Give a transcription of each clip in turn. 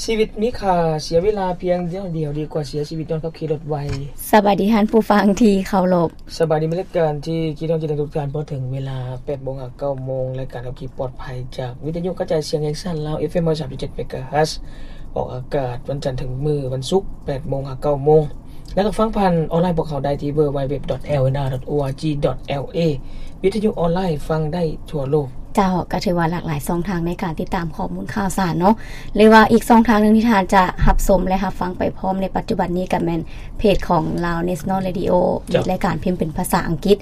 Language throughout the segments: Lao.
ຊີວິດມີຄ່າ ເສຍເວລາພຽງໜ້ອຍດຽວ ດີກວ່າເສຍຊີວິດຍ້ອນຂັບຂີ່ລົດໄວ. ສະບາຍດີທ່ານຜູ້ຟັງທີ່ເຄົາລົບ. ສະບາຍດີ ມີລາຍການທີ່ຄິດຮອດຄິດເຖິງທຸກທ່ານ. ພໍເຖິງເວລາແປດໂມງຫາເກົ້າໂມງ ລາຍການຂັບຂີ່ປອດໄພ ຈາກວິທະຍຸກະຈາຍສຽງແຫ່ງຊາດລາວ ເອັຟເອັມຮ້ອຍສາມຈຸດເຈັດເມກາເຮີດ ອອກອາກາດວັນຈັນເຖິງມື້ວັນສຸກ ແປດໂມງຫາເກົ້າໂມງ ແລ້ວກໍຟັງຜ່ານອອນລາຍພວກເຮົາໄດ້ທີ່ www.lnr.org.la ວິທະຍຸອອນລາຍຟັງໄດ້ທົ່ວໂລກ. ເຈົ້າ ກໍຖືວ່າຫຼາກຫຼາຍຊ່ອງທາງໃນການຕິດຕາມຂໍ້ມູນຂ່າວສານເນາະ ຫຼືວ່າອີກຊ່ອງທາງໜຶ່ງທີ່ທ່ານຈະຮັບຊົມ ແລະ ຮັບຟັງໄປພ້ອມໃນປັດຈຸບັນນີ້ກໍແມ່ນເພຈຂອງ Lao National Radio ເຈົ້າ ມີລາຍການພິມເປັນພາສາອັງກິດ.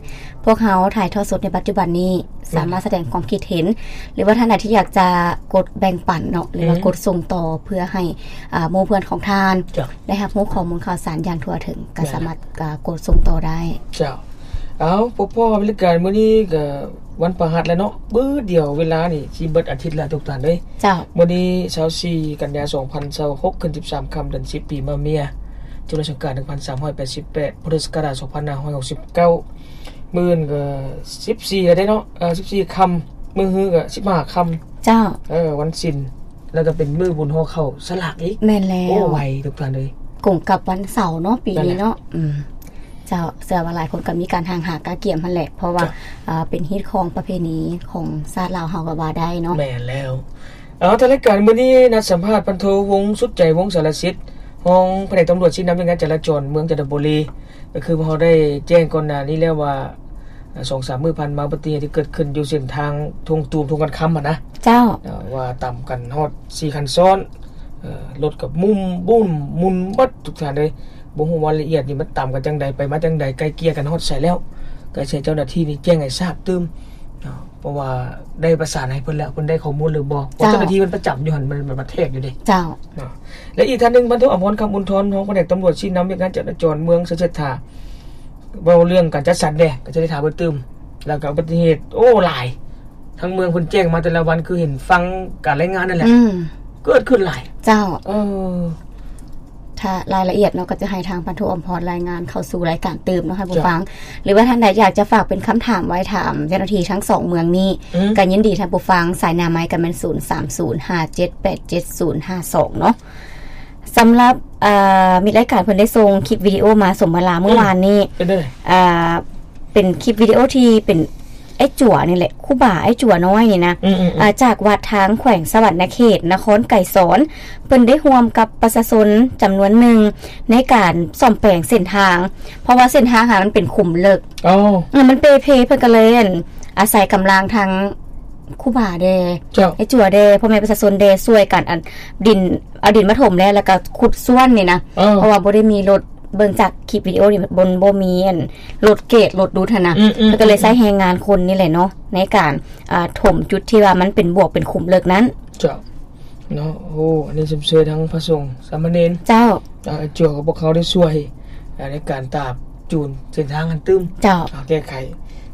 ພວກເຮົາຖ່າຍທອດສົດໃນປັດຈຸບັນນີ້ ສາມາດສະແດງຄວາມຄິດເຫັນ ຫຼືວ່າທ່ານໃດທີ່ຢາກຈະກົດແບ່ງປັນເນາະ ຫຼືວ່າ ອືມ ກົດສົ່ງຕໍ່ເພື່ອໃຫ້ ອາ ໝູ່ເພື່ອນຂອງທ່ານ ເຈົ້າ ໄດ້ຮັບຮູ້ຂໍ້ມູນຂ່າວສານຢ່າງທົ່ວເຖິງ ກໍ ແມ່ນ ສາມາດ ອາ ກົດສົ່ງຕໍ່ໄດ້. ເຈົ້າ ເອົາ ພໍໆ ລາຍການມື້ນີ້ກໍວັນພະຫັດແລ້ວເນາະ ບຶດດຽວເວລານີ້ຊິເບິດອາທິດແລ້ວທຸກທ່ານເອີຍ. ເຈົ້າ ມື້ນີ້ຊາວສີ່ກັນຍາ ສອງພັນຊາວຫົກ ຂຶ້ນສິບສາມຄ່ຳ ເດືອນສິບ ປີມະເມຍ ຈຸລະສັງກາດ ໜຶ່ງພັນສາມຮ້ອຍແປດສິບແປດ ພຸດທະສັກກະລາດ ສອງພັນຫ້າຮ້ອຍຫົກສິບເກົ້າ. ມື້ອື່ນກໍສິບສີ່ແລ້ວເດ້ເນາະ ເອີ ສິບສີ່ຄ່ຳ ມື້ຮືກໍສິບຫ້າຄ່ຳ. ເຈົ້າ ເອີ ວັນສິນ ແລ້ວກໍເປັນມື້ບຸນຫໍ່ເຂົ້າສະຫຼາກອີກ. ແມ່ນແລ້ວ ໂອ້ ໄວທຸກທ່ານເອີຍ ກົງກັບວັນເສົາເນາະ ປີນີ້ເນາະ. ນັ້ນແຫຼະ ອືມ ເຈົ້າ ເຊື່ອວ່າຫຼາຍຄົນກໍມີການຫ້າງຫາກະກຽມຫັ້ນແຫຼະ ເພາະວ່າ ເຈົ້າ ເປັນຮີດຄອງປະເພນີຂອງຊາດລາວເຮົາກໍວ່າໄດ້ເນາະ. ແມ່ນແລ້ວ. ເອົາ ທາງລາຍການມື້ນີ້ນັດສຳພາດພັນໂທ ວົງສຸດໃຈ ວົງສາລະສິດ ຮອງພະແນກຕຳຫຼວດຊີ້ນຳວຽກງານຈະລາຈອນເມືອງຈັນທະບູລີ. ກໍຄືພວກເຮົາໄດ້ແຈ້ງກ່ອນໜ້ານີ້ແລ້ວວ່າ ອາ ສອງສາມມື້ຜ່ານມາ ອຸບັດຕິເຫດທີ່ເກີດຂຶ້ນຢູ່ເສັ້ນທາງທົ່ງຕູມ ທົ່ງຄຳຫັ້ນນະ. ເຈົ້າ ເອີ ວ່າຕຳກັນຮອດສີ່ຄັນຊ້ອນ ເອີ ລົດກໍໝຸ່ນບຸ້ນໝຸ່ນເບິດທຸກທ່ານເອີຍ. ບໍ່ຮູ້ວ່າລະອຽດນີ້ມັນຕຳກັນຈັ່ງໃດ ໄປມາຈັ່ງໃດ ໄກ່ເກ່ຍກັນຮອດໃສແລ້ວ ກໍໃຫ້ເຈົ້າໜ້າທີ່ນີ້ແຈ້ງໃຫ້ຊາບຕື່ມເນາະ ເພາະວ່າໄດ້ປະສານໃຫ້ເພິ່ນແລ້ວ ເພິ່ນໄດ້ຂໍ້ມູນຫຼືບໍ່ ເຈົ້າ ເຈົ້າໜ້າທີ່ເພິ່ນປະຈຳຢູ່ຫັ້ນ ມັນ ມັນ ມັນແທກຢູ່ເດ້. ເຈົ້າ ເນາະ ແລະ ອີກທ່ານໜຶ່ງ ພັນໂທ ອຳພອນ ຄຳອຸນທອນ ຮອງພະແນກຕຳຫຼວດຊີ້ນຳວຽກງານຈະລາຈອນເມືອງໄຊເສດຖາ ເວົ້າເລື່ອງການຈັດສັນແດ່ ກໍຈະໄດ້ຖາມເພິ່ນຕື່ມ. ແລ້ວກໍອຸບັດຕິເຫດ ໂອ້ ຫຼາຍ ທາງເມືອງເພິ່ນແຈ້ງມາແຕ່ລະວັນ ຄືເຫັນຟັງການລາຍງານນັ້ນແຫຼະ ອືມ ເກີດຂຶ້ນຫຼາຍ. ເຈົ້າ ເອີ ຖ້າລາຍລະອຽດເນາະ ກໍຈະໃຫ້ທາງພັນໂທ ອຳພອນ ລາຍງານເຂົ້າສູ່ລາຍການຕື່ມເນາະ ທ່ານຜູ້ ເຈົ້າ ຟັງ. ຫຼືວ່າທ່ານໃດຢາກຈະຝາກເປັນຄຳຖາມໄວ້ຖາມເຈົ້າໜ້າທີ່ທັງສອງເມືອງນີ້ ອືມ ກໍຍິນດີທ່ານຜູ້ຟັງ. ສາຍໜ້າໄມ້ກໍແມ່ນ ສູນສາມສູນ ຫ້າເຈັດແປດເຈັດສູນຫ້າສອງເນາະ. ສຳລັບ ເອີ ມິດລາຍການເພິ່ນໄດ້ສົ່ງຄລິບວິດີໂອມາສົມເວລາມື້ວານນີ້ ເປັນຈັ່ງໃດ? ເອີ ເປັນຄລິບວິດີໂອທີ່ເປັນອ້າຍຈົວນີ້ແຫຼະ ຄູບາອ້າຍຈົວນ້ອຍນີ້ນະ ອືມໆໆ ເອີ ຈາກວັດທາງແຂວງສະຫວັນນະເຂດ ນະຄອນໄກສອນ ເພິ່ນໄດ້ຮ່ວມກັບປະຊາຊົນຈຳນວນໜຶ່ງໃນການສ້ອມແປງເສັ້ນທາງ ເພາະວ່າເສັ້ນທາງຫັ້ນມັນເປັນຂຸມເລິກ ເອີ ມັນເປ່ເພ ເພິ່ນກໍເລີຍ ອັນ ອາໄສກຳລັງທາງຄູບາແດ່ ເຈົ້າ ອ້າຍຈົວແດ່ ພໍ່ແມ່ປະຊາຊົນແດ່ ຊ່ວຍກັນ ອັນ ດິນ ເອົາດິນມາຖົມແລ້ວ ແລ້ວກໍຂຸດສ້ວນນີ້ນະ ເອີ ເພາະວ່າບໍ່ໄດ້ມີລົດ ເບິ່ງຈາກຄລິບວິດີໂອນີ້ ບໍ່ ບໍ່ມີອັນລົດເກດ ລົດດູດຫັ້ນນະ ອືມໆໆ ເພິ່ນກໍເລີຍໃຊ້ແຮງງານຄົນນີ້ແຫຼະເນາະ ໃນການ ອ່າ ຖົມຈຸດທີ່ວ່າມັນເປັນບວກເປັນຂຸມເລິກນັ້ນ. ເຈົ້າ ເນາະ ໂອ້ ອັນນີ້ຊົມເຊີຍທັງພະສົງສາມະເນນ ເຈົ້າ ອ່າ ຈົວກັບພວກເຂົາໄດ້ຊ່ວຍ ອ່າ ໃນການຕາບຈູນເສັ້ນທາງຫັ້ນຕື່ມ ເຈົ້າ ອ່າ ແກ້ໄຂ.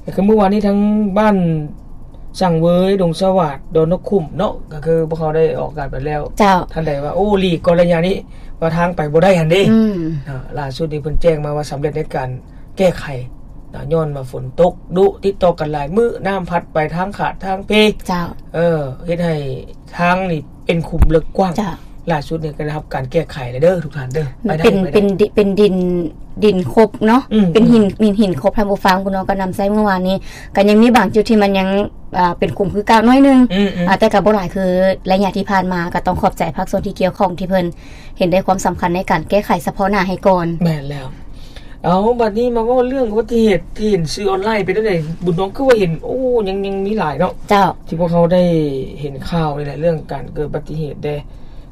ກໍຄືມື້ວານນີ້ທາງບ້ານສັງເຫວີຍ ດົງສະຫວາດ ດອນນົກຂຸມເນາະ ກໍຄືພວກເຮົາໄດ້ອອກອາກາດໄປແລ້ວ ເຈົ້າ ທ່ານໃດວ່າ ໂອ້ ຫຼີກກ່ອນໄລຍະນີ້ ວ່າທາງໄປບໍ່ໄດ້ຫັ້ນເດ້ ອືມ ອ່າ ລ່າສຸດນີ້ເພິ່ນແຈ້ງມາວ່າສຳເລັດໃນການແກ້ໄຂ ເນາະ ຍ້ອນວ່າຝົນຕົກດຸ ຕິດຕໍ່ກັນຫຼາຍມື້ ນ້ຳພັດໄປທາງຂາດທາງເພ ເຈົ້າ ເອີ ເຮັດໃຫ້ທາງນີ້ເປັນຂຸມເລິກກວ້າງ ເຈົ້າ ລ່າສຸດນີ້ກໍໄດ້ຮັບການແກ້ໄຂແລ້ວເດີທຸກທ່ານເດີ ໄປໄດ້ ເປັນ ໄປໄດ້ ເປັນດິ ເປັນດິນ ດິນຄົບເນາະ ອືມ ເປັນຫີນ ອືມ ຫີນ ຫີນຄົບ ທ່ານຜູ້ຟັງ ບຸນນ້ອຍກໍນຳໃຊ້ເມື່ອວານນີ້ ກໍຍັງມີບາງຈຸດທີ່ມັນຍັງ ອ່າ ເປັນຂຸມຄືເກົ່າໜ້ອຍໜຶ່ງ ອືມໆ ອ່າ ແຕ່ກໍບໍ່ຫຼາຍຄືໄລຍະທີ່ຜ່ານມາ ກໍຕ້ອງຂອບໃຈພາກສ່ວນທີ່ກ່ຽວຂ້ອງທີ່ເພິ່ນ ເຫັນໄດ້ຄວາມສຳຄັນໃນການແກ້ໄຂສະເພາະໜ້າໃຫ້ກ່ອນ. ແມ່ນແລ້ວ. ເອົາ ບັດນີ້ມາເວົ້າເລື່ອງອຸບັດຕິເຫດທີ່ເຫັນສື່ອອນລາຍ ເປັນຈັ່ງໃດ ບຸນນ້ອງ ຄືວ່າເຫັນ ໂອ້ ຍັງ ຍັງມີຫຼາຍເນາະ ເຈົ້າ ທີ່ພວກເຮົາໄດ້ເຫັນຂ່າວນີ້ແຫຼະ ເລື່ອງການເກີດອຸບັດຕິເຫດແດ່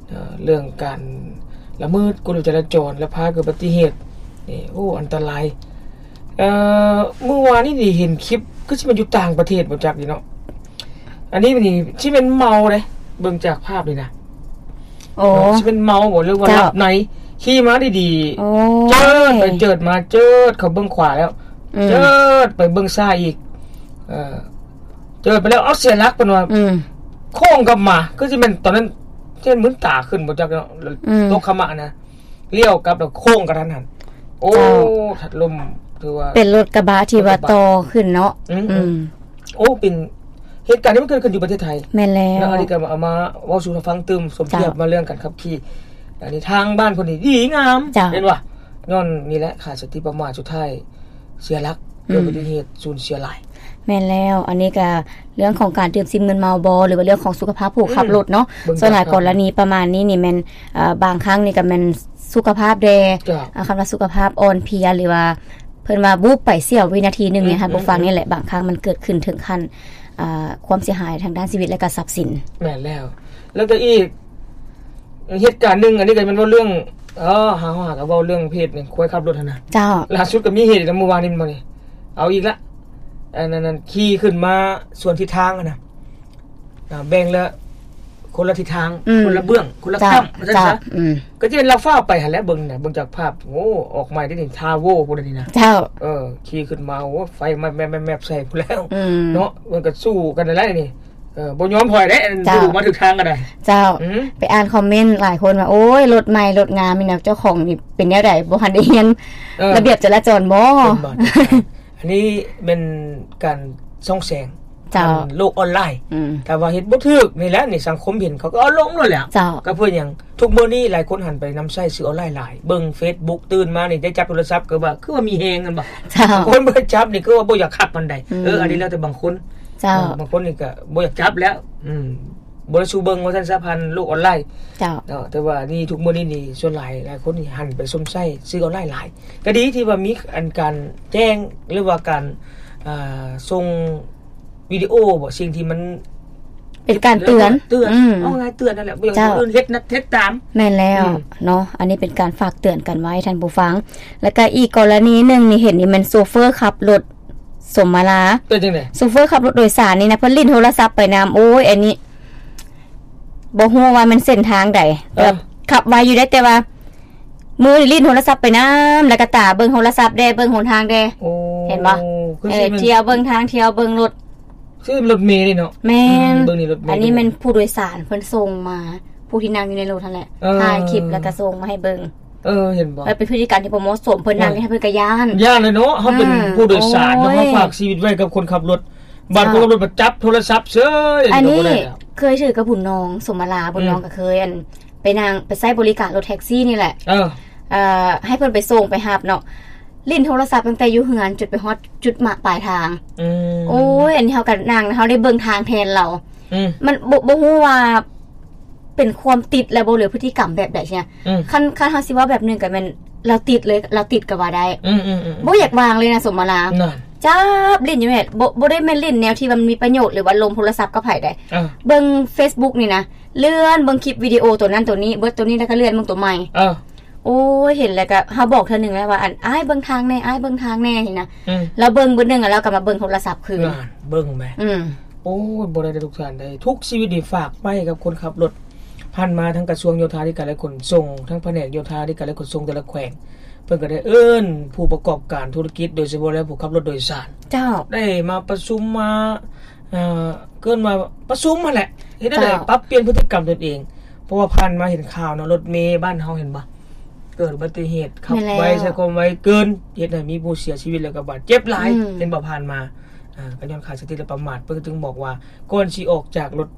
ເອີ ເລື່ອງການລະເມີດກົດຈະລາຈອນ ແລະ ພາເກີດອຸບັດຕິເຫດນີ້ ໂອ້ ອັນຕະລາຍ. ເອີ ມື້ວານນີ້ນີ້ເຫັນຄລິບ ຄືຊິແມ່ນຢູ່ຕ່າງປະເທດບໍ່ຈັກນີ້ເນາະ ອັນນີ້ນີ້ຊິແມ່ນເມົາເດ້ ເບິ່ງຈາກພາບນີ້ນະ ໂອ້ ຊິແມ່ນເມົາບໍ່ ຫຼືວ່າ ເຈົ້າ ຫຼັບໃນ ຂີ່ມາດີໆ ໂອ້ຍ ເຈີດໄປເຈີດມາ ເຈີດເຂົ້າເບື້ອງຂວາແລ້ວ ອືມ ເຈີດໄປເບື້ອງຊ້າຍອີກ ເອີ ເຈີດໄປແລ້ວ ເອົາ ເສຍຫຼັກ ເພິ່ນວ່າ ອືມ ໂຄ້ງກັບມາ ຄືຊິແມ່ນຕອນນັ້ນ ເຊັ່ນ ມືນຕາຂຶ້ນບໍ່ຈັກເນາະ ອືມ ຕົກຂະມະນະ ລ້ຽວກັບແລ້ວໂຄ້ງກະທັນຫັນ ໂອ້ ເຈົ້າ ທັດລົມ ຖືວ່າເປັນລົດກະບະທີ່ວ່າ ລົດກະບະ ຕໍ່ຂຶ້ນເນາະ ອືມ ອືມ ໂອ້ ເປັນ ເຫດການນີ້ມັນເກີດຂຶ້ນຢູ່ປະເທດໄທ. ແມ່ນແລ້ວ ເນາະ ອັນນີ້ກໍເອົາມາເວົ້າສູ່ຟັງຕື່ມ ສົມທຽບ ເຈົ້າ ມາເລື່ອງການຂັບຂີ່. ອັນນີ້ທາງບ້ານເພິ່ນນີ້ດີງາມ ເຈົ້າ ເຫັນບໍ່? ຍ້ອນນີ້ແຫຼະ ຂາດສະຕິປະໝາດ ສຸດທ້າຍເສຍຫຼັກ ອືມ ເກີດອຸບັດຕິເຫດ ສູນເສຍຫຼາຍ. ແມ່ນແລ້ວ ອັນນີ້ກໍເລື່ອງຂອງການດື່ມສິ່ງມຶນເມົາບໍ ຫຼືວ່າເລື່ອງຂອງສຸຂະພາບຜູ້ຂັບລົດເນາະ. ອືມ ສ່ວນຫຼາຍກໍລະນີປະມານນີ້ນີ້ແມ່ນ ເອີ ບາງຄັ້ງນີ້ກໍແມ່ນສຸຂະພາບແດ່ ເຈົ້າ ອາ ຄຳວ່າສຸຂະພາບອ່ອນເພຍ ຫຼືວ່າເພິ່ນວ່າວູບໄປເສ້ຽວວິນາທີໜຶ່ງນີ້ ອືມ ທ່ານຜູ້ຟັງ ອືມ ນີ້ແຫຼະ ບາງຄັ້ງມັນເກີດຂຶ້ນເຖິງຂັ້ນ ອາ ຄວາມເສຍຫາຍທາງດ້ານຊີວິດ ແລະກໍຊັບສິນ. ແມ່ນແລ້ວ ແລ້ວກໍອີກເຫດການໜຶ່ງ ອັນນີ້ກໍແມ່ນເວົ້າເລື່ອງ ເອີ ຫາ ຫາກໍເວົ້າເລື່ອງເພດນີ້ ຄວາຍຂັບລົດຫັ້ນນະ. ເຈົ້າ ລ່າສຸດກໍມີເຫດນຳມື້ວານນີ້ ແມ່ນບໍ່ນີ້? ເອົາອີກລະ ອັນນັ້ນ ຂີ່ຂຶ້ນມາສວນທິດທາງຫັ້ນນະ ອ່າ ແບ່ງລະຄົນລະທິດທາງ ອືມ ຄົນລະເບື້ອງ ຄົນລະ ເຈົ້າ ກ້ຳ ວ່າຊັ້ນ ເຈົ້າ ຊະ ອືມ ກໍຈະເຫັນລາວຟ້າວໄປຫັ້ນແຫຼະ. ເບິ່ງນະ ເບິ່ງຈາກພາບ ໂອ້ ອອກໃໝ່ໄດ້ນີ້ ທາໂວພຸ້ນນີ້ນະ. ເຈົ້າ ເອີ ຂີ່ຂຶ້ນມາ ໂອ້ ໄຟແມັບໆໆໃສ່ພຸ້ນແລ້ວ ອືມ ເນາະ. ມັນກໍສູ້ກັນນັ້ນແຫຼະນີ້ ເອີ ບໍ່ຍອມຖອຍເດ້ ເຈົ້າ ມາຖືກທາງກໍໄດ້. ເຈົ້າ ອືມ ໄປອ່ານຄອມເມັນຫຼາຍຄົນວ່າ ໂອ້ຍ ລົດໃໝ່ລົດງາມນີ້ນະ ເຈົ້າຂອງນີ້ເປັນແນວໃດ ບໍ່ທັນໄດ້ຮຽນ ເອີ ລະບຽບຈະລະຈອນບໍ? ເປັນບໍ່? ອັນນີ້ແມ່ນການສ່ອງແສງ ເຈົ້າ ທາງໂລກອອນລາຍ ອືມ ຖ້າວ່າເຮັດບໍ່ຖືກນີ້ແຫຼະ ໃນສັງຄົມເຫັນ ເຂົາກໍເອົາລົງໂລດແຫຼະ. ເຈົ້າ ກໍເພື່ອຫຍັງ? ທຸກມື້ນີ້ຫຼາຍຄົນຫັນໄປນຳໃຊ້ສື່ອອນລາຍຫຼາຍ ເບິ່ງເຟສບຸກ ຕື່ນມານີ້ໄດ້ຈັບໂທລະສັບ ກໍວ່າຄືວ່າມີແຮງ ແມ່ນບໍ່? ເຈົ້າ ຄົນບໍ່ໄດ້ຈັບນີ້ຄືວ່າບໍ່ຢາກຂັບປານໃດ. ອືມ ເອີ ອັນນີ້ແລ້ວແຕ່ບາງຄົນ. ເຈົ້າ ເອີ ບາງຄົນນີ້ກໍບໍ່ຢາກຈັບແລ້ວ ອືມ ບໍ່ໄດ້ສູ່ເບິ່ງວ່າຊັ້ນຊະ ຜ່ານໂລກອອນລາຍ. ເຈົ້າ ເນາະ ແຕ່ວ່ານີ້ທຸກມື້ນີ້ນີ້ ສ່ວນຫຼາຍ ຫຼາຍຄົນນີ້ຫັນໄປຊົມໃຊ້ສື່ອອນລາຍຫຼາຍ. ກໍດີທີ່ວ່າມີອັນການແຈ້ງ ຫຼືວ່າການ ອ່າ ສົ່ງວິດີໂອບໍ ສິ່ງທີ່ມັນເປັນການເຕືອນ ເຕືອນ ອືມ ເອົາງ່າຍເຕືອນນັ້ນແຫຼະ ບໍ່ຢາກໃຫ້ ເຈົ້າ ຄົນອື່ນເຮັດນະ ເຮັດຕາມ. ແມ່ນແລ້ວ ອືມ ເນາະ ອັນນີ້ເປັນການຝາກເຕືອນກັນໄວ້ທ່ານຜູ້ຟັງ. ແລ້ວກໍອີກກໍລະນີໜຶ່ງນີ້ ເຫັນນີ້ແມ່ນໂຊເຟີຂັບລົດ ສົມມາລາ ເປັນຈັ່ງໃດ? ໂຊເຟີຂັບລົດໂດຍສານນີ້ນະ ເພິ່ນຫຼິ້ນໂທລະສັບໄປນຳ. ໂອ້ຍ ອັນນີ້ບໍ່ຮູ້ວ່າແມ່ນເສັ້ນທາງໃດ ເອີ ແບບຂັບໄວຢູ່ເດ້ ແຕ່ວ່າມືນີ້ຫຼິ້ນໂທລະສັບໄປນຳ ແລ້ວກໍຕາເບິ່ງໂທລະສັບແດ່ ເບິ່ງຫົນທາງແດ່. ໂອ້ ເຫັນບໍ່? ຄືຊິແມ່ນ ເອີ ທ່ຽວເບິ່ງທາງ ທ່ຽວເບິ່ງລົດ ຄືລົດເມນີ້ເນາະ. ແມ່ນ ອືມ ເບິ່ງນີ້ລົດເມ ອັນນີ້ແມ່ນຜູ້ໂດຍສານເພິ່ນສົ່ງມາ ຜູ້ທີ່ນັ່ງຢູ່ໃນລົດຫັ້ນແຫຼະ ເອີ ຖ່າຍຄລິບແລ້ວກໍສົ່ງມາໃຫ້ເບິ່ງ. ເອີ ເຫັນບໍ່? ມັນເປັນພຶດຕິກຳທີ່ບໍ່ເໝາະສົມ ເພິ່ນນັ່ງ ໂອ້ຍ ໃຫ້ເພິ່ນກໍຢ້ານ ຢ້ານແຫຼະເນາະ. ເຮົາເປັນ ອືມ ຜູ້ໂດຍສານເນາະ ໂອ້ຍ ເຮົາຝາກຊີວິດໄວ້ກັບຄົນຂັບລົດ ບາດ ເຈົ້າ ຄົນຂັບລົດມາຈັບໂທລະສັບເສີຍ ອັນນີ້ກໍບໍ່ໄດ້ແລ້ວ. ເຄີຍຖືກກັບບຸນນອງ ສົມມາລາ ບຸນນອງ ອືມ ກໍເຄີຍ ອັນ ໄປນັ່ງ ໄປໃຊ້ບໍລິການລົດແທັກຊີນີ້ແຫຼະ. ເອີ ເອີ ໃຫ້ເພິ່ນໄປສົ່ງໄປຮັບເນາະ ຫຼິ້ນໂທລະສັບຕັ້ງແຕ່ຢູ່ເຮືອນຈົນໄປຮອດຈຸດໝາຍປາຍທາງ. ອືມ ໂອ້ຍ ອັນນີ້ເຮົາກໍນັ່ງ ເຮົາໄດ້ເບິ່ງທາງແທນລາວ. ອືມ ມັນບໍ່ ບໍ່ຮູ້ວ່າເປັນຄວາມຕິດແລ້ວບໍ່ ຫຼືພຶດຕິກຳແບບໃດຊີ້ນະ. ອືມ ຄັນ ຄັນເຮົາຊິເວົ້າແບບໜຶ່ງກໍແມ່ນລາວຕິດເລີຍ ລາວຕິດກໍວ່າໄດ້. ອືມໆໆ ບໍ່ຢາກວາງເລີຍນະ ສົມມາລາ ນັ້ນ ຈັບຫຼິ້ນຢູ່ແມ່ນ ບໍ່ ບໍ່ໄດ້ແມ່ນຫຼິ້ນແນວທີ່ວ່າມັນມີປະໂຫຍດ ຫຼືວ່າລົມໂທລະສັບກັບໃຜໃດ. ເອີ ເບິ່ງເຟສບຸກນີ້ນະ ເລື່ອນເບິ່ງຄລິບວິດີໂອໂຕນັ້ນໂຕນີ້ ເບິດໂຕນີ້ແລ້ວກໍເລື່ອນເບິ່ງໂຕໃໝ່. ເອີ ໂອ້ຍ ເຫັນແລ້ວກໍ ເຮົາບອກເທື່ອໜຶ່ງແລ້ວວ່າ ອັນ ອ້າຍເບິ່ງທາງແດ່ ອ້າຍເບິ່ງທາງແດ່ ຊີ້ນະ. ອືມ ລາວເບິ່ງເບິດໜຶ່ງ ແລ້ວລາວກໍມາເບິ່ງໂທລະສັບຄືນ. ນັ້ນ ເບິ່ງແມ. ອືມ ໂອ້ຍ ບໍ່ໄດ້ເດ້ທຸກທ່ານເດ້ ທຸກຊີວິດນີ້ຝາກໄວ້ກັບຄົນຂັບລົດ. ຜ່ານມາທາງກະຊວງໂຍທາທິການ ແລະ ຂົນສົ່ງ ທາງພະແນກໂຍທາທິການ ແລະ ຂົນສົ່ງແຕ່ລະແຂວງ ເພິ່ນກໍໄດ້ເອີ້ນຜູ້ປະກອບການທຸລະກິດ ໂດຍສະເພາະແລ້ວຜູ້ຂັບລົດໂດຍສານ. ເຈົ້າ ໄດ້ມາປະຊຸມ ມາ ເອີ ເອີ້ນວ່າປະຊຸມຫັ້ນແຫຼະ ເຮັດແນວໃດ ເຈົ້າ ປັບປ່ຽນພຶດຕິກຳຕົນເອງ. ເພາະວ່າຜ່ານມາເຫັນຂ່າວເນາະ ລົດເມບ້ານເຮົາ ເຫັນບໍ່ ເກີດອຸບັດຕິເຫດ ຂັບໄວ ແມ່ນແລ້ວ ໃຊ້ຄວາມໄວເກີນ ເຮັດໃຫ້ມີຜູ້ເສຍຊີວິດ ແລ້ວກໍບາດເຈັບຫຼາຍ. ອືມ ເຫັນບໍ່ ຜ່ານມາ ອ່າ ກໍຍ້ອນຂາດສະຕິ ແລະ ປະໝາດ. ເພິ່ນຈຶ່ງບອກວ່າ ກ່ອນຊິອອກຈາກລົດ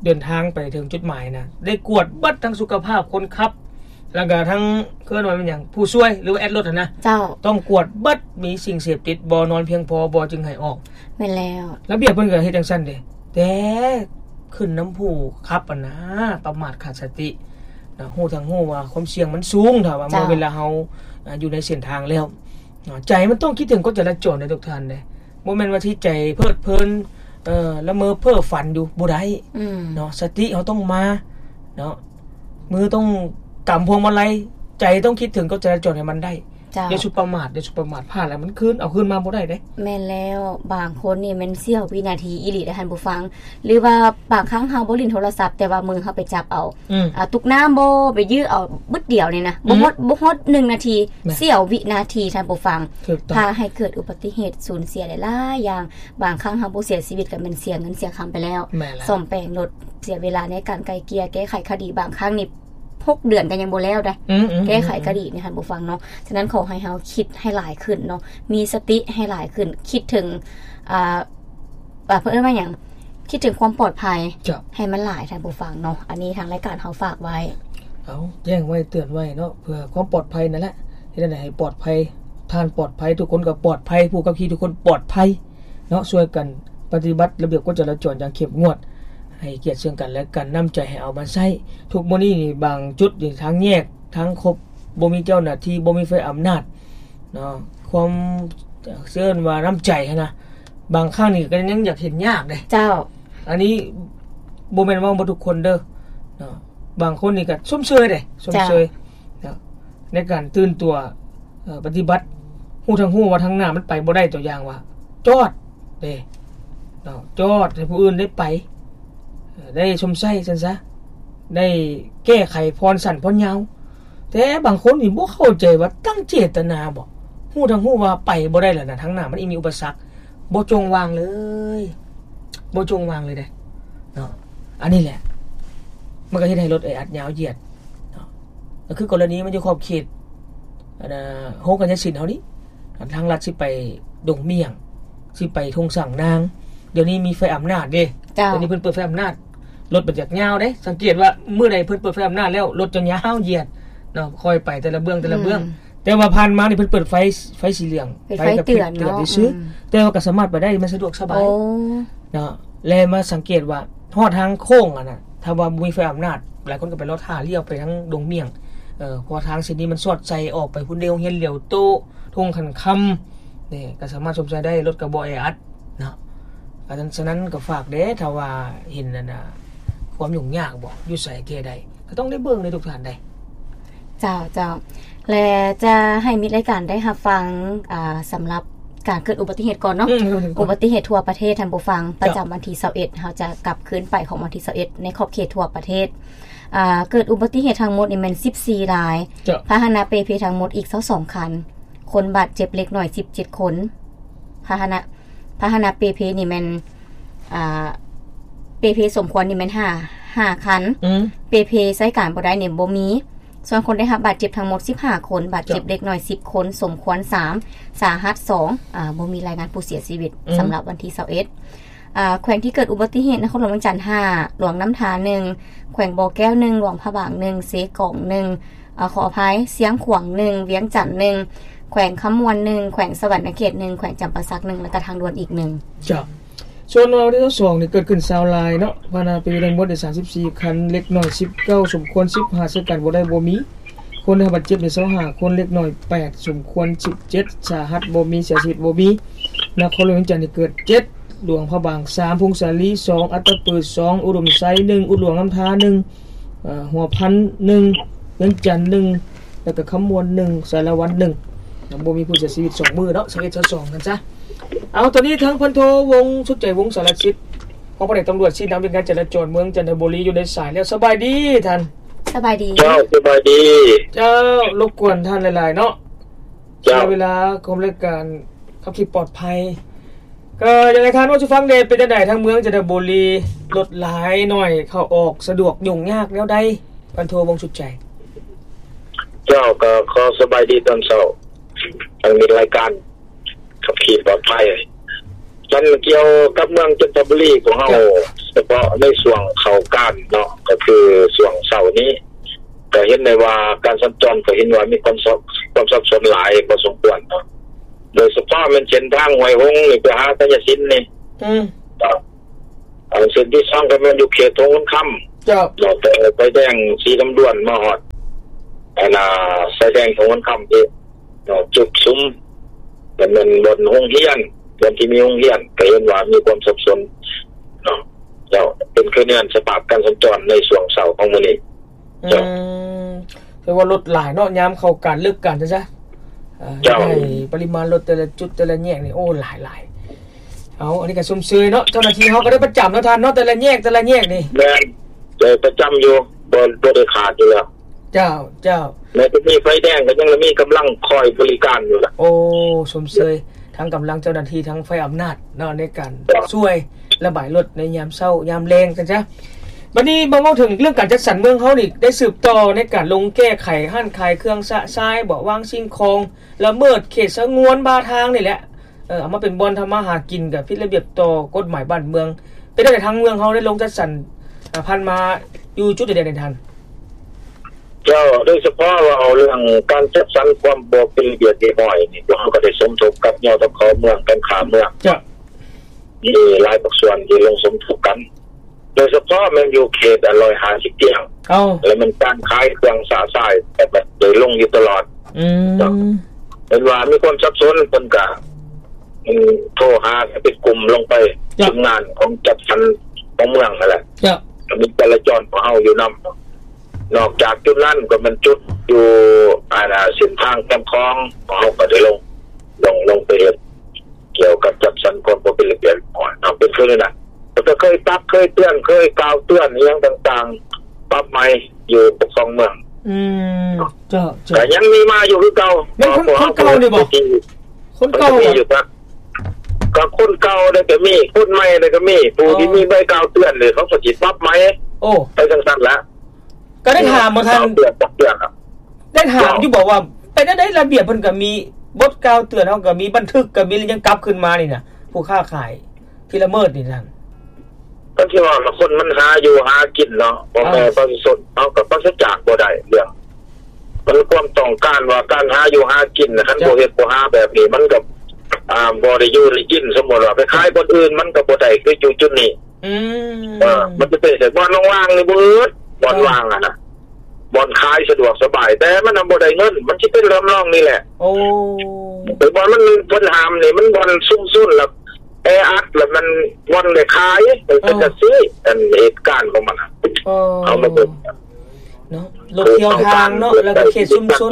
ເດີນທາງໄປເຖິງຈຸດໝາຍນະ ໄດ້ກວດເບິດທັງສຸຂະພາບຄົນຂັບ ແລ້ວກໍທັງ ເອີ້ນວ່າແມ່ນຫຍັງ ຜູ້ຊ່ວຍ ຫຼືວ່າແອັດລົດຫັ້ນນະ. ເຈົ້າ ຕ້ອງກວດເບິດ ມີສິ່ງເສບຕິດບໍ່ ນອນພຽງພໍບໍ່ ຈຶ່ງໃຫ້ອອກ. ແມ່ນແລ້ວ ລະບຽບເພິ່ນກໍເຮັດຈັ່ງຊັ້ນເດ້ ແຕ່ຂຶ້ນນຳຜູ້ຂັບຫັ້ນນະ ປະໝາດຂາດສະຕິນະ ຮູ້ທັງຮູ້ວ່າຄວາມສ່ຽງມັນສູງ ຖ້າວ່າ ເຈົ້າ ເມື່ອເວລາເຮົາ ອ່າ ຢູ່ໃນເສັ້ນທາງແລ້ວເນາະ ໃຈມັນຕ້ອງຄິດເຖິງກົດຈະລາຈອນເດ້ທຸກທ່ານເດ້. ບໍ່ແມ່ນວ່າທີ່ໃຈເພີດເພີນ ເອີ ລະເມີເພ້ອຝັນຢູ່ ບໍ່ໄດ້ ອືມ ເນາະ ສະຕິເຮົາຕ້ອງມາເນາະ ມືຕ້ອງກຳພວງມາໄລ ໃຈຕ້ອງຄິດເຖິງກົດຈະລາຈອນໃຫ້ມັນໄດ້. ເຈົ້າ ຢ່າສຸປະໝາດ ຢ່າສຸປະໝາດ ພາດແລ້ວມັນຄືນ ເອົາຄືນມາບໍ່ໄດ້ເດ້. ແມ່ນແລ້ວ ບາງຄົນນີ້ແມ່ນເສ້ຽວວິນາທີອີ່ຫຼີເດ້ທ່ານຜູ້ຟັງ ຫຼືວ່າບາງຄັ້ງເຮົາບໍ່ຫຼິ້ນໂທລະສັບ ແຕ່ວ່າມືເຮົາໄປຈັບເອົາ ອືມ ອ່າ ຕຸກນ້ຳບໍ ໄປຢື້ເອົາບຶດດຽວນີ້ນະ ອືມ ບໍ່ຮອດ ບໍ່ຮອດໜຶ່ງນາທີ ແມ່ນ ເສ້ຽວວິນາທີທ່ານຜູ້ຟັງ ຖືກຕ້ອງ ພາໃຫ້ເກີດອຸບັດຕິເຫດ ສູນເສຍຫຼາຍໆຢ່າງ. ບາງຄັ້ງເຮົາບໍ່ເສຍຊີວິດກໍແມ່ນເສຍເງິນເສຍຄຳໄປແລ້ວ ແມ່ນແລ້ວ ສ້ອມແປງລົດ ເສຍເວລາໃນການໄກ່ເກ່ຍແກ້ໄຂຄະດີ ບາງຄັ້ງນີ້ຫົກເດືອນກໍຍັງບໍ່ແລ້ວໄດ໋ ອືມໆໆໆ ແກ້ໄຂຄະດີນີ້ທ່ານຜູ້ຟັງເນາະ. ສະນັ້ນຂໍໃຫ້ເຮົາຄິດໃຫ້ຫຼາຍຂຶ້ນເນາະ ມີສະຕິໃຫ້ຫຼາຍຂຶ້ນ ຄິດເຖິງ ອ່າ ວ່າເພິ່ນເອີ້ນວ່າຫຍັງ ຄິດເຖິງຄວາມປອດໄພ ເຈົ້າ ໃຫ້ມັນຫຼາຍ ທ່ານຜູ້ຟັງເນາະ. ອັນນີ້ທາງລາຍການເຮົາຝາກໄວ້ ເອົາ ແຈ້ງໄວ້ເຕືອນໄວ້ເນາະ ເພື່ອຄວາມປອດໄພນັ້ນແຫຼະ ເຮັດຈັ່ງໃດໃຫ້ປອດໄພ ທ່ານປອດໄພ ທຸກຄົນກໍປອດໄພ ຜູ້ຂັບຂີ່ທຸກຄົນປອດໄພເນາະ. ຊ່ວຍກັນປະຕິບັດລະບຽບກົດຈະລາຈອນຢ່າງເຂັ້ມງວດ ໃຫ້ກຽດເຊິ່ງກັນແລະກັນ ນ້ຳໃຈໃຫ້ເອົາມາໃຊ້. ທຸກມື້ນີ້ນີ້ ບາງຈຸດນີ້ ທາງແຍກ ທາງຄົບ ບໍ່ມີເຈົ້າໜ້າທີ່ ບໍ່ມີໄຟອຳນາດເນາະ. ຄວາມ ເອີ້ນວ່ານ້ຳໃຈຫັ້ນນະ ບາງຄັ້ງນີ້ກໍຍັງຢາກເຫັນຍາກເດ້ ເຈົ້າ. ອັນນີ້ບໍ່ແມ່ນເວົ້າໝົດທຸກຄົນເດີເນາະ. ບາງຄົນນີ້ກໍຊົມເຊີຍເດ້ ຊົມເຊີຍ ເຈົ້າ ເນາະ ໃນການຕື່ນຕົວ ເອີ ປະຕິບັດ ຮູ້ທັງຮູ້ວ່າທາງໜ້າມັນໄປບໍ່ໄດ້ ຕົວຢ່າງວ່າ ຈອດເດ້ເນາະ ຈອດໃຫ້ຜູ້ອື່ນໄດ້ໄປ ເອີ ໄດ້ຊົມໃຊ້ຊັ້ນຊະ ໄດ້ແກ້ໄຂຜ່ອນສັ້ນຜ່ອນຍາວ. ແຕ່ບາງຄົນນີ້ບໍ່ເຂົ້າໃຈວ່າຕັ້ງເຈດຕະນາບໍ? ຮູ້ທັງຮູ້ວ່າໄປບໍ່ໄດ້ແລ້ວນະ ທາງໜ້າມັນອີກມີອຸປະສັກ ບໍ່ຈົ່ງວາງເລີຍ ບໍ່ຈົ່ງວາງເລີຍເດ້ເນາະ. ອັນນີ້ແຫຼະ ມັນກໍເຮັດໃຫ້ລົດແອອັດຍາວຢຽດເນາະ. ກໍຄືກໍລະນີມັນຢູ່ຂອບເຂດ ອັນນ່າ ໂຮງການຍາສິນເຮົານີ້ ທາງລັດຊິໄປດົງໝ້ຽງ ຊິໄປທົ່ງສາງນາງ ດຽວນີ້ມີໄຟອຳນາດເດ້ ເຈົ້າ ດຽວນີ້ເພິ່ນເປີດໄຟອຳນາດ ລົດມັນຈະຍາວເດ້. ສັງເກດວ່າມື້ໃດເພິ່ນເປີດໄຟອຳນາດແລ້ວ ລົດຈະຍາວຢຽດເນາະ ຄ່ອຍໄປແຕ່ລະເບື້ອງ ແຕ່ລະເບື້ອງ ອືມ ແຕ່ວ່າຜ່ານມານີ້ເພິ່ນເປີດໄຟ ໄຟສີເຫຼືອງ ເປັນໄຟເຕືອນເນາະ ໄຟກະພິບເຕືອນຊື່ໆ ອືມ ແຕ່ວ່າກໍສາມາດໄປໄດ້ ມັນສະດວກສະບາຍ ໂອ້ ເນາະ. ແລະມາສັງເກດວ່າຮອດທາງໂຄ້ງຫັ້ນນະ ຖ້າວ່າບໍ່ມີໄຟອຳນາດ ຫຼາຍຄົນກໍໄປລໍຖ້າລ້ຽວໄປທາງດົງໝ້ຽງ ເພາະທາງເສັ້ນນີ້ມັນສອດໃສ່ອອກໄປພຸ້ນເດ້ ໂຮງຮຽນຫຼຽວໂຕ ທົ່ງຂັນຄຳ ນີ້ກໍສາມາດຊົມໃຊ້ໄດ້ ລົດກໍບໍ່ແອອັດເນາະ. ອັນນັ້ນ ສະນັ້ນກໍຝາກເດ້ ຖ້າວ່າເຫັນອັນນ່າ ຄວາມຫຍຸ້ງຍາກບໍ ຢູ່ໃສແກ້ໄດ້ ກໍຕ້ອງໄດ້ເບິ່ງເດ້ທຸກທ່ານເດ້. ເຈົ້າ ເຈົ້າ ແລະຈະໃຫ້ມິດລາຍການໄດ້ຮັບຟັງ ອ່າ ສຳລັບການເກີດອຸບັດຕິເຫດກ່ອນເນາະ ອືມ ອຸບັດຕິເຫດທົ່ວປະເທດ ທ່ານຜູ້ຟັງ ເຈົ້າ ປະຈຳວັນທີຊາວເອັດ ເຮົາຈະກັບຄືນໄປຂອງວັນທີຊາວເອັດ ໃນຂອບເຂດທົ່ວປະເທດ ອ່າ ເກີດອຸບັດຕິເຫດທັງໝົດນີ້ແມ່ນສິບສີ່ລາຍ ເຈົ້າ ພາຫະນະເປເພທັງໝົດອີກຊາວສອງຄັນ ຄົນບາດເຈັບເລັກນ້ອຍສິບເຈັດຄົນ ພາຫະນະ ພາຫະນະເປເພນີ້ແມ່ນ ອ່າ ເປເພສົມຄວນນີ້ແມ່ນຫ້າ ຫ້າຄັນ ອືມ ເປເພໃຊ້ການບໍ່ໄດ້ນີ້ບໍ່ມີ. ສ່ວນຄົນໄດ້ຮັບບາດເຈັບທັງໝົດສິບຫ້າຄົນ ບາດເຈັບເລັກນ້ອຍສິບຄົນ ສົມຄວນສາມ ສາຫັດສອງ ອ່າ ບໍ່ມີລາຍງານຜູ້ເສຍຊີວິດ ອືມ ສຳລັບວັນທີຊາວເອັດ. ອ່າ ແຂວງທີ່ເກີດອຸບັດຕິເຫດ ນະຄອນຫຼວງວຽງຈັນຫ້າ ຫຼວງນ້ຳທາໜຶ່ງ ແຂວງບໍ່ແກ້ວໜຶ່ງ ຫຼວງພະບາງໜຶ່ງ ເຊກອງໜຶ່ງ ເອີ ຂໍອະໄພ ຊຽງຂວາງໜຶ່ງ ວຽງຈັນໜຶ່ງ ແຂວງຄຳມ່ວນໜຶ່ງ ແຂວງສະຫວັນນະເຂດໜຶ່ງ ແຂວງຈຳປາສັກໜຶ່ງ ແລະກະທາງດ່ວນອີກໜຶ່ງ. ເຈົ້າ ສ່ວນລາວວັນທີຊາວສອງນີ້ເກີດຂຶ້ນຊາວລາຍເນາະ ພາຫະນະເປັນທັງໝົດໄດ້ສາມສິບສີ່ຄັນ ເລັກນ້ອຍສິບເກົ້າ ສົມຄວນສິບ ຫາໃຊ້ການບໍ່ໄດ້ບໍ່ມີ. ຄົນໄດ້ຮັບບາດເຈັບນີ້ຊາວຫ້າຄົນ ເລັກນ້ອຍແປດ ສົມຄວນສິບເຈັດ ສາຫັດບໍ່ມີ ເສຍຊີວິດບໍ່ມີ. ນະຄອນຫຼວງວຽງຈັນນີ້ເກີດເຈັດ ຫຼວງພະບາງສາມ ຜົ້ງສາລີສອງ ອັດຕະປືສອງ ອຸດົມໄຊໜຶ່ງ ອຸດຫຼວງນ້ຳທາໜຶ່ງ ຫົວພັນໜຶ່ງ ວຽງຈັນໜຶ່ງ ແລ້ວກໍຄຳມ່ວນໜຶ່ງ ສາລະວັນໜຶ່ງ. ຍັງບໍ່ມີຜູ້ເສຍຊີວິດສອງມື້ເນາະ ຊາວເອັດ ຊາວສອງ ກັນຊະ. ເອົາ ຕອນນີ້ທາງພັນໂທ ວົງສຸດໃຈ ວົງສາລະສິດ ຮອງພະແນກຕຳຫຼວດຊີ້ນຳວຽກງານຈະລາຈອນເມືອງຈັນທະບູລີຢູ່ໃນສາຍແລ້ວ. ສະບາຍດີທ່ານ. ສະບາຍດີ. ເຈົ້າ ສະບາຍດີ. ເຈົ້າ ລົບກວນທ່ານຫຼາຍໆເນາະ. ເຈົ້າ ໃຊ້ເວລາຂອງລາຍການຂັບຂີ່ປອດໄພ ກໍຢາກໃຫ້ທ່ານເວົ້າສູ່ຟັງແດ່ ເປັນຈັ່ງໃດທາງເມືອງຈັນທະບູລີ ລົດຫຼາຍໜ້ອຍ ເຂົ້າອອກສະດວກຫຍຸ້ງຍາກແນວໃດ ພັນໂທ ວົງສຸດໃຈ? ເຈົ້າ ກໍຂໍສະບາຍດີຕອນເຊົ້າ ທາງມິດລາຍການ ຂັບຂີ່ປອດໄພ. ມັນກ່ຽວກັບເມືອງຈັນທະບູລີຂອງເຮົາ ເຈົ້າ ສະເພາະໃນຊ່ວງເຂົ້າການເນາະ ກໍຄືຊ່ວງເຊົ້ານີ້ ກໍເຫັນໄດ້ວ່າການສັນຈອນກໍເຫັນວ່າມີຄວາມສັບ ຄວາມສັບສົນຫຼາຍພໍສົມຄວນເນາະ ໂດຍສະເພາະແມ່ນເສັ້ນທາງຫ້ວຍຫົງນີ້ໄປຫາໄຊຍະສິນນີ້ ອືມ ກໍ ເອີ ເສັ້ນທີສອງກໍແມ່ນຢູ່ເຂດທົ່ງຂຸນຄຳ ເຈົ້າ ແລ້ວແຕ່ໄຟແດງສີລຳດວນມາຮອດ ອັນນ່າ ໄຟແດງທົ່ງຂຸນຄຳທີ່ ເນາະ ຈຸດສຸມ ແລ້ວແມ່ນບ່ອນໂຮງຮຽນ ບ່ອນທີ່ມີໂຮງຮຽນ ກໍເຫັນວ່າມີຄວາມສັບສົນເນາະ. ເຈົ້າ ເປັນຄືແນວສະພາບການສັນຈອນໃນຊ່ວງເຊົ້າຂອງມື້ນີ້. ເຈົ້າ ອືມ ແຕ່ວ່າລົດຫຼາຍເນາະ ຍາມເຂົ້າການເລີກການຊັ້ນຊະ. ເອີ ເຈົ້າ ເຮັດໃຫ້ປະລິມານລົດແຕ່ລະຈຸດແຕ່ລະແຍກນີ້ ໂອ້ ຫຼາຍໆ. ເອົາ ອັນນີ້ກໍຊົມເຊີຍເນາະ ເຈົ້າໜ້າທີ່ເຮົາກໍໄດ້ປະຈຳເນາະທ່ານເນາະ ແຕ່ລະແຍກ ແຕ່ລະແຍກນີ້. ແມ່ນ ໄດ້ປະຈຳຢູ່ ບໍ່ ບໍ່ໄດ້ຂາດຢູ່ແລ້ວ. ເຈົ້າ ເຈົ້າ ແມ້ແຕ່ມີໄຟແດງກໍຍັງມີກຳລັງຄອຍບໍລິການຢູ່ລະ. ໂອ້ ຊົມເຊີຍທັງກຳລັງເຈົ້າໜ້າທີ່ ທັງຝ່າຍອຳນາດເນາະ ໃນການ ເຈົ້າ ຊ່ວຍລະບາຍລົດໃນຍາມເຊົ້າຍາມແລງຊັ້ນຊະ. ບັດນີ້ມາເວົ້າເຖິງເລື່ອງການຈັດສັນເມືອງເຮົານີ້ ໄດ້ສືບຕໍ່ໃນການລົງແກ້ໄຂຮ້ານຂາຍເຄື່ອງຊະຊາຍບໍ ວາງສິ່ງຂອງລະເມີດເຂດສະຫງວນບາທາງນີ້ແຫຼະ ເອີ ເອົາມາເປັນບ່ອນທຳມາຫາກິນ ກໍຜິດລະບຽບຕໍ່ກົດໝາຍບ້ານເມືອງ ປັນຈັ່ງໃດ ທາງເມືອງເຮົາໄດ້ລົງຈັດສັນ ອາ ຜ່ານມາຢູ່ຈຸດໃດແດ່ທ່ານ? ເຈົ້າ ໂດຍສະເພາະເວົ້າເລື່ອງການຈັດສັນຄວາມບໍ່ເປັນລະບຽບຮຽບຮ້ອຍນີ້ ພວກເຮົາກໍໄດ້ສົມທົບກັບ ຍທຂ ເມືອງ ການຄ້າເມືອງ ເຈົ້າ ມີຫຼາຍພາກສ່ວນທີ່ລົງສົມທົບກັນ ໂດຍສະເພາະແມ່ນຢູ່ເຂດ ອັນ ຮ້ອຍຫ້າສິບຕຽງ ເອົ້າ ແລະແມ່ນການຂາຍເຄື່ອງຊະຊາຍ ແຕ່ກໍໄດ້ລົງຢູ່ຕະຫຼອດ ອືມ ເນາະ ເຫັນວ່າມີຄວາມສັບສົນ ເພິ່ນກະ ອືມ ໂທຫາເປັນກຸ່ມລົງໄປ ເຈົ້າ ທີມງານຂອງຈັດສັນຂອງເມືອງຫັ້ນແຫຼະ ເຈົ້າ ກໍມີຈະລາຈອນຂອງເຮົາຢູ່ນຳ ນອກຈາກຈຸດນັ້ນກໍແມ່ນຈຸດຢູ່ ອັນ ເສັ້ນທາງແຄມຂອງ ພວກເຮົາກໍໄດ້ລົງ ລົງ ລົງໄປເຮັດ ກ່ຽວກັບຈັດສັນຄວາມບໍ່ເປັນລະບຽບຮຽບຮ້ອຍເນາະ ເປັນຄືນັ້ນນະ ແຕ່ກໍເຄີຍຕັກ ເຄີຍເຕືອນ ເຄີຍກ່າວເຕືອນອີ່ຫຍັງຕ່າງໆ ປັບໃໝຢູ່ປົກຄອງເມືອງ ອືມ ເຈົ້າ ເຈົ້າ ກໍຍັງມີມາຢູ່ຄືເກົ່າ ແມ່ນຄົນ ຄົນເກົ່ານີ້ບໍ? ຄົນເກົ່າ ກໍມີຢູ່ ກໍຄົນເກົ່າໄດ້ກໍມີ ຄົນໃໝ່ໄດ້ກໍມີ ຜູ້ທີ່ ອໍ ມີໃບກ່າວເຕືອນນີ້ ເຂົາກໍຊິປັບໃໝ ໂອ້ ໄປຈັ່ງຊັ້ນລະ ກໍໄດ້ຖາມບໍ່ທ່ານ? ເຕືອນ ຕັກເຕືອນ ໄດ້ຖາມຢູ່ບໍ່ວ່າ ເຈົ້າ ເປັນຈັ່ງໃດລະບຽບເພິ່ນກໍມີ ບົດກ່າວເຕືອນເຮົາກໍມີ ບັນທຶກກໍມີ ແລ້ວຍັງກັບຄືນມານີ້ນະ ຜູ້ຄ້າຂາຍທີ່ລະເມີດນີ້ທ່ານ? ກໍຊິວ່າລະຄົນມັນຫາຢູ່ຫາກິນເນາະ ພໍ່ແມ່ ເອີ ປະຊາຊົນເຮົາກໍປາສະຈາກບໍ່ໄດ້ເລື່ອງ ມັນຄວາມຕ້ອງການວ່າການຫາຢູ່ຫາກິນນະ ຄັນ ເຈົ້າ ບໍ່ເຮັດບໍ່ຫາແບບນີ້ ມັນກໍ ອ່າ ບໍ່ໄດ້ຢູ່ໄດ້ກິນ ສົມມຸດວ່າໄປຂາຍບ່ອນອື່ນ ມັນກໍບໍ່ໄດ້ຄືຢູ່ຈຸດນີ້ ອືມ ເອີ ມັນຈະເປັນແບບບ່ອນວ່າງໆນີ້ເບີດ ບ່ອນວ່າງຫັ້ນນະ ບ່ອນຂາຍສະດວກສະບາຍ ແຕ່ມັນນະບໍ່ໄດ້ເງິນ ມັນຊິເປັນທຳນອງນີ້ແຫຼະ ໂອ້ ແຕ່ບ່ອນມັນ ເພິ່ນຫ້າມນີ້ ມັນບ່ອນຊຸມຊົນ ແລ້ວແອອັດ ແລ້ວມັນບ່ອນໄດ້ຂາຍ ເອີ ເປັນຈັ່ງຊີ້ ອັນເຫດການຂອງມັນນະ ເອີ ເອົາມາເບິ່ງ ເນາະ ລົດທ່ຽວທາງເນາະ ແລ້ວກໍເຂດຊຸມຊົນ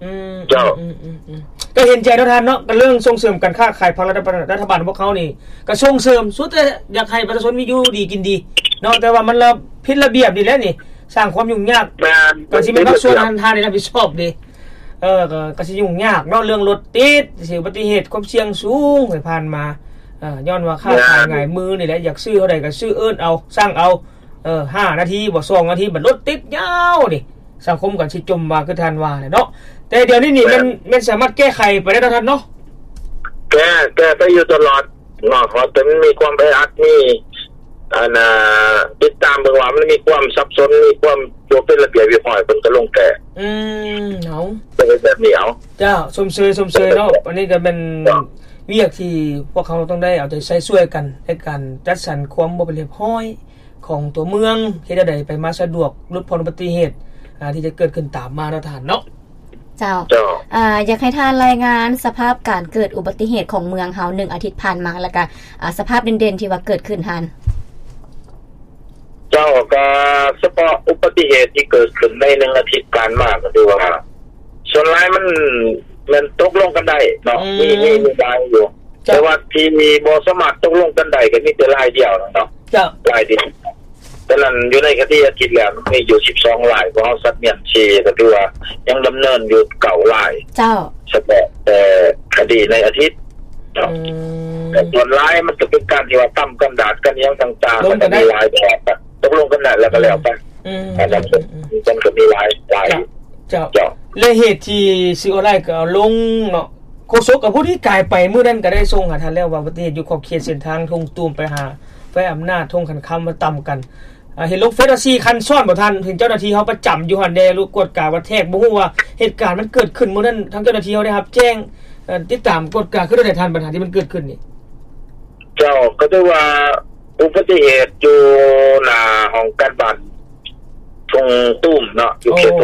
ອືມ ເຈົ້າ ອືມ ອືມ ອືມ ກໍເຫັນໃຈເນາະທ່ານເນາະ ກໍເລື່ອງສົ່ງເສີມການຄ້າຂາຍ ພາກລັດຖະບານ ລັດຖະບານພວກເຮົານີ້ກໍສົ່ງເສີມ ສຸດແຕ່ຢາກໃຫ້ປະຊາຊົນມີຢູ່ດີກິນດີເນາະ ແຕ່ວ່າມັນລະຜິດລະບຽບນີ້ແຫຼະນີ້ ສ້າງຄວາມຫຍຸ້ງຍາກ ແມ່ນ ກໍຊິແມ່ນພາກສ່ວນທ່ານ ທ່ານໄດ້ຮັບຜິດຊອບເດ້ ເອີ ກໍ ກໍຊິຫຍຸ້ງຍາກເນາະ ເລື່ອງລົດຕິດ ຊິອຸບັດຕິເຫດ ຄວາມສ່ຽງສູງໃນຜ່ານມາ ເອີ ຍ້ອນວ່າຄ້າຂາຍ ແມ່ນ ງ່າຍມືນີ້ແຫຼະ ຢາກຊື້ເທົ່າໃດກໍຊື້ ເອີ້ນເອົາ ສັ່ງເອົາ ເອີ ຫ້ານາທີບໍ ສອງນາທີ ບັດລົດຕິດຍາວນີ້ ສັງຄົມກໍຊິຈົມວ່າ ຄືທ່ານວ່າແຫຼະເນາະ ແຕ່ດຽວນີ້ນີ້ ແມ່ນ ແມ່ນ ແມ່ນສາມາດແກ້ໄຂໄປໄດ້ເນາະທ່ານເນາະ? ແກ້ ແກ້ໄປຢູ່ຕະຫຼອດເນາະ ເພາະແຕ່ມັນມີຄວາມແອອັດ ມີ ອັນ ຕິດຕາມເບິ່ງວ່າມັນມີຄວາມສັບສົນ ມີຄວາມບໍ່ເປັນລະບຽບຮຽບຮ້ອຍ ເພິ່ນກໍລົງແກ້ ອືມ ເອົາ ກໍເຮັດແບບນີ້ເອົາ ເຈົ້າ ຊົມເຊີຍ ຊົມເຊີຍເນາະ ເຈົ້າ ອັນນີ້ກໍແມ່ນ ເຈົ້າ ວຽກທີ່ພວກເຮົາຕ້ອງໄດ້ເອົາໃຈໃສ່ຊ່ວຍກັນ ໃນການຈັດສັນຄວາມບໍ່ເປັນລະບຽບຮຽບຮ້ອຍ ຂອງຕົວເມືອງ ເຮັດແນວໃດໄປມາສະດວກ ຫຼຸດຜ່ອນອຸບັດຕິເຫດ ອ່າ ທີ່ຈະເກີດຂຶ້ນຕາມມາເນາະທ່ານເນາະ. ເຈົ້າ ເຈົ້າ ອາ ຢາກໃຫ້ທ່ານລາຍງານສະພາບການເກີດອຸບັດຕິເຫດຂອງເມືອງເຮົາໜຶ່ງອາທິດຜ່ານມາ ແລ້ວກະ ອາ ສະພາບເດັ່ນໆທີ່ວ່າເກີດຂຶ້ນຫັ້ນ. ເຈົ້າ ກະສະເພາະອຸບັດຕິເຫດທີ່ເກີດຂຶ້ນໃນໜຶ່ງອາທິດຜ່ານມາ ກໍຖືວ່າສ່ວນຫຼາຍມັນແມ່ນຕົກລົງກັນໄດ້ເນາະ ອືມ ມີ ມີ ມີຫຼາຍຢູ່ ເຈົ້າ ແຕ່ວ່າທີ່ບໍ່ສາມາດຕົກລົງກັນໄດ້ກໍມີແຕ່ລາຍດຽວເນາະ ເຈົ້າ ລາຍດຽວ. ສະນັ້ນຢູ່ໃນຄະດີອະດີດແລ້ວມີຢູ່ສິບສອງລາຍ ພວກເຮົາສັດມຽນສີ່ ກໍຖືວ່າຍັງດຳເນີນຢູ່ເກົ້າລາຍ ເຈົ້າ ສະເພາະແຕ່ຄະດີໃນອາທິດເນາະ ອືມ ແຕ່ສ່ວນຫຼາຍມັນຈະເປັນການທີ່ວ່າຕຳກັນດາດກັນຫຍັງຕ່າງໆ ມັນກໍມີຫຼາຍແບບ ຕົກລົງກັນໄດ້ແລ້ວກໍແລ້ວໄປ ອືມ ອັນນັ້ນ ອືມ ມັນກໍມີຫຼາຍ ຫຼາຍ ເຈົ້າ ເຈົ້າ ເຈົ້າ ແລະເຫດທີ່ສື່ອອນລາຍກໍເອົາລົງເນາະ ໂຄສົກກໍຜູ້ທີ່ກາຍໄປມື້ນັ້ນກໍໄດ້ສົ່ງຫາທ່ານແລ້ວວ່າ ອຸບັດຕິເຫດຢູ່ຂອບເຂດເສັ້ນທາງທົ່ງຕູມໄປຫາແຂວງອຳນາດ ທົ່ງຂັນຄຳ ມາຕຳກັນ ອ່າ ເຫັນລົງເຟສວ່າສີ່ຄັນຊ້ອນບໍ່ທ່ານ ເຫັນເຈົ້າໜ້າທີ່ເຮົາປະຈຳຢູ່ຫັ້ນແດ່ ກວດກາວ່າແທກ ບໍ່ຮູ້ວ່າເຫດການມັນເກີດຂຶ້ນມື້ນັ້ນ ທາງເຈົ້າໜ້າທີ່ເຮົາໄດ້ຮັບແຈ້ງ ເອີ ຕິດຕາມກວດກາຄືແນວໃດທ່ານ ບັນຫາທີ່ມັນເກີດຂຶ້ນນີ້? ເຈົ້າ ກໍຖືວ່າອຸບັດຕິເຫດຢູ່ໜ້າຫ້ອງການບ້ານ ທົ່ງຕູມເນາະ ຢູ່ເຂດ ໂອ້